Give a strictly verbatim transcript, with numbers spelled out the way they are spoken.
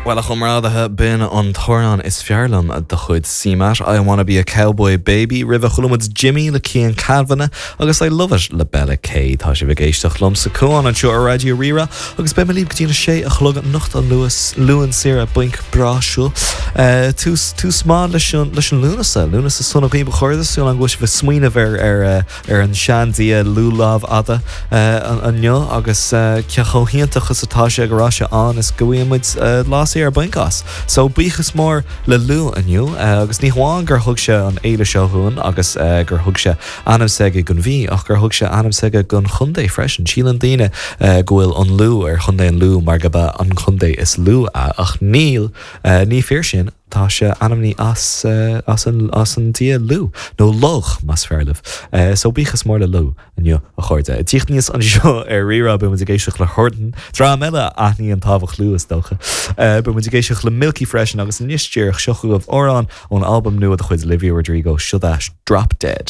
Well a chomrádaithe b'in an t-amhrán is fearr liom de chuid CMAT I wanna be a cowboy baby roimhe chuala muid Jimmy le Cian Kavanagh agus I love it le Bella K tá sibh ag éisteacht liom sa Cuan anseo ar Raidió Rí-Rá agus beidh mé libh go dtí a sé a chlog anocht an luas Luan saor bainc breá seo. Uh, tús tús maith leis an leis an Lúnasa Lúnasa sona dhaoibh a chairde súil agam go bhfuil sibh ag smaoineamh ar ar uh, ar an seandia Lugh Lámhfhada uh, inniu agus uh, ce chomh hiontach is atá sé go raibh sé ann is go bhfuil uh, lá ar bainc as. So buíochas mór le Lugh inniu uh, agus ní hamháin gur thug sé an fhéile seo dúinn agus uh, gur thug sé ainm s'aige don mhí ach gur thug sé ainm s'aige don chontae freisin. Síleann daoine uh, go bhfuil an Lú ar chontae an Lú mar gurb é an contae is lú é ach níl uh, ní fíor sin tá sé ainmnithe as, uh, as, an, as an dia Lugh nó Lugh más fearr libh. Uh, so buíochas mór le Lugh inniu a chairde. Tíocht níos anseo ar Rí-Rá beidh muid ag éisteacht le Horton, Dream eile a aithníonn tábhacht Lugh is dócha. Uh, Beidh muid ag éisteacht le Milky freisin agus anois díreach seo chugaibh amhrán ón albam nua de chuid Olivia Rodrigo seo Drop Dead.